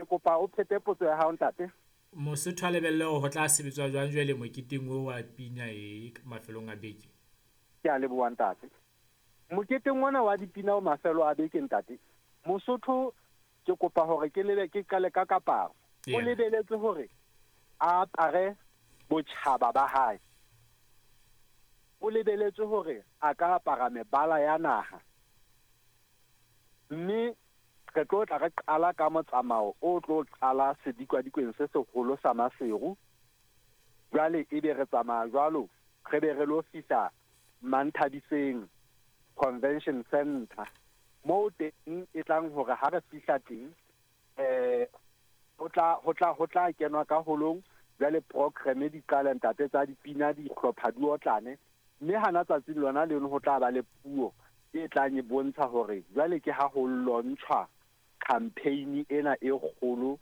Ke kopa o phete potso ya hao, ntate. Mosotho a lebelle hore ho tla sebetswa jwang jwale moketeng o wa pina e mafelong a beke? Ke a leboha, ntate. Moketeng ona wa dipina o mafelo a beke, ntate, Mosotho ke kopa hore ke lebe ke qale ka kaparo. O lebeletse hore a apare botjhaba ba hae. O lebeletse hore a ka apara mebala ya naha. Mme re tlo tla re qala ka motsamao o tlo qala sedikadikweng se seholo sa Maseru. Jwale ebe re tsamaya jwalo, re be re lo fihla Manthabiseng Convention Center. Moo teng e tlang hore ha re fihla teng, ho tla kenwa ka holong. Jwale programme di qale, ntate, tsa dipina, dihlopha di otlane, mme hana tsatsing lona leno ho tla ba le puo e tlang e bontsha hore jwale ke ha ho launchwa campaign ena e kgolo,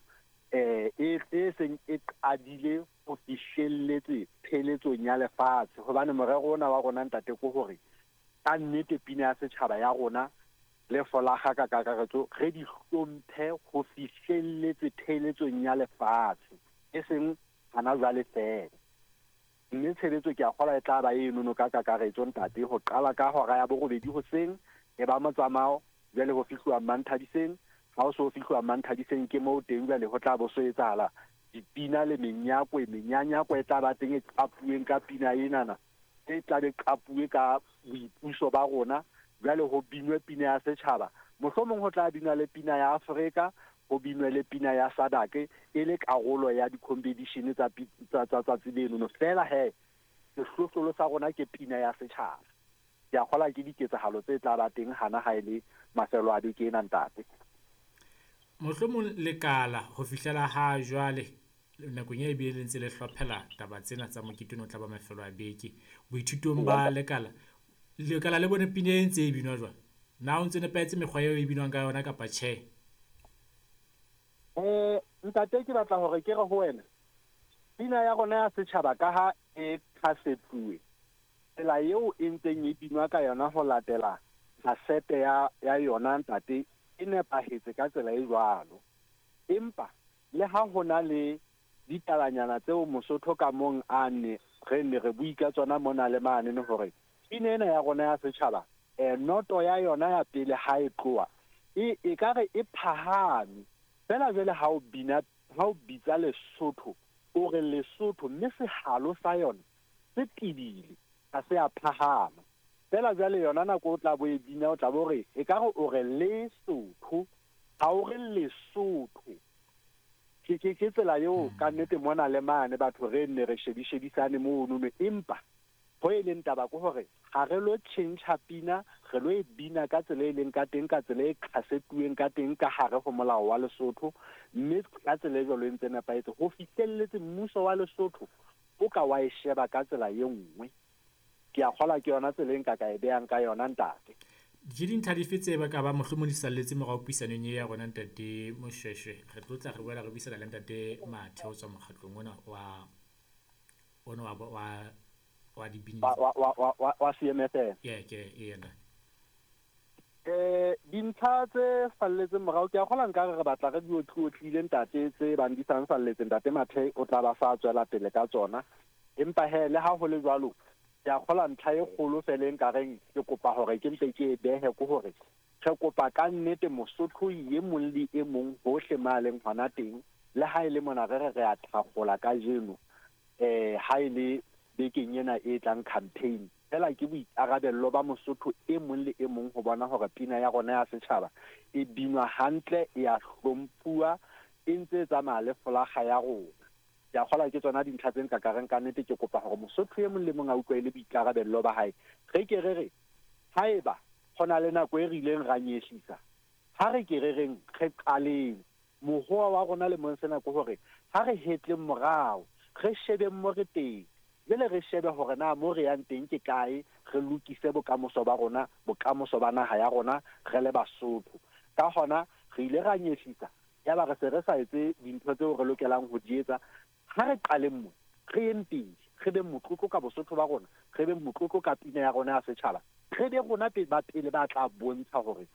e seng e qadile ho fihlelletse pheletsong ya lefatshe, hobane morero ona wa rona, ntate, ke hore ka nnete pina ya setjhaba ya rona le folakga ka kakaretso re di hlomphe ho fihlelletse pheletsong ya lefatshe, e seng hana jwale feela. Mme tshebetso ke a kgolwa e tla ba enono ka kakaretso, ntate, ho qala ka hora ya 8 hoseng, e ba motsamao. Jwale ho fihluwa Manthabiseng. Ha o so fihluwa Manthabiseng, ke moo teng jwale ho tla bo so etsahala dipina le menyakwe. Menyanyako e tla ba teng e qapuweng ka pina enana, e tla be qapuwe ka boipuso ba rona. Jwale ho binwe pina ya setjhaba, mohlomong ho tla binwa le pina ya Afrika, ho binwe le pina ya SADC e le karolo ya di-competition tsa tsatsi lenono. Feela he, sehlohlolo sa rona ke pina ya setjhaba. Ke a kgolwa ke diketsahalo tse tla ba teng hana ha e le mafelo a beke ena, ntate. Mohlomong lekala ho fihlela ha jwale nakong e bile le ntse le hlophela taba tsena tsa mokete ono o tla ba mafelo a beke, boithutong ba lekala, lekala le bone pina e ntse e binwa jwang? Na o ntse nepahetse mekgwa eo e binwang ka yona kapa tjhe? Ntate, ke batla hore ke re ho wena, pina ya rona ya setjhaba, ka ha e khasetsuwe tsela eo e ntseng e binwa ka yona ho latela kasete ya yona, ntate, e nepahetse ka tsela e jwalo. Empa le ha ho na le ditabanyana tseo Mosotho ka mong a ne re ne re bui ka tsona mona le mane hore pina ena ya rona ya setjhaba, noto ya yona ya pele ha e tloha e ka re e phahame fela. Jwale ha o bina, ha o bitsa Lesotho, o re Lesotho, mme sehalo sa yona se tebile, ha se a phahama fela. Jwale yona nako o tla bo e bina, o tla bo re e ka re o re Lesotho, ha o re Lesotho. Ke tsela eo ka nnete mona le mane batho re nne re shebishebisane mono. Empa ho e leng taba ke hore ha re lo tjhentjha pina, re lo e bina ka tsela e leng ka teng, ka tsela e khasetuweng ka teng ka hare ho molao wa Lesotho, mme ka tsela e jwalo e ntse nepahetse ho fihlelletse mmuso wa Lesotho o ka wa e sheba ka tsela e nngwe. Ke a kgolwa ke yona tsela e nka ka e behang ka yona, ntate. Ke dintlha dife tse ba ka ba mohlomong di salletse morao puisanong e ya rona, ntate Moshweshwe? Re tlo tla re boela re buisana le ntate Mathe ho tswa mokgatlong ona wa dibini. Wa CMFM. Yeah, ke yena. Dintlha tse salletseng morao, ke a kgolwa nkare re batla re di otlotlile, ntate, tse bang di sang salletse, ntate Mathe o tla ba sa tswela pele ka tsona. Empa he, le ha ho le jwalo, ke a kgolwa ntlha e kgolo fela e nkareng ke kopa hore ke mpe ke e behe ke hore re kopa ka nnete Mosotho e mong le e mong hohle ma leng hona teng, le ha e le mona re re re a thakgola kajeno, ha e le bekeng ena e tlang campaign fela, ke boikarabello ba Mosotho e mong le e mong ho bona hore pina ya rona ya setjhaba e binwa hantle, e a hlomphuwa, e ntse e tsamaya le folakga ya rona. Ke a kgolwa ke tsona dintlha tse nka ka reng ka nnete ke kopa hore Mosotho e mong le mong a utlwe e le boikarabello ba hae. Re ke re re haeba ho na le nako e re ileng ra nyehlisa, ha re ke re reng re qaleng mohoa wa rona le mong sena, ke hore ha re hetleng morao, re shebeng mo re teng jwale, re shebe hore na mo re yang teng ke kae, re lokise bokamoso ba rona, bokamoso ba naha ya rona re le Basotho. Ka hona re ile ra nyehlisa, yaba re se re sa etse dintho tseo re lokelang ho di etsa. Ha re qaleng mo re yeng pele, re beng motlotlo ka Bosotho ba rona, re beng motlotlo ka pina ya rona ya setjhaba, re be rona ba pele ba tla bontsha hore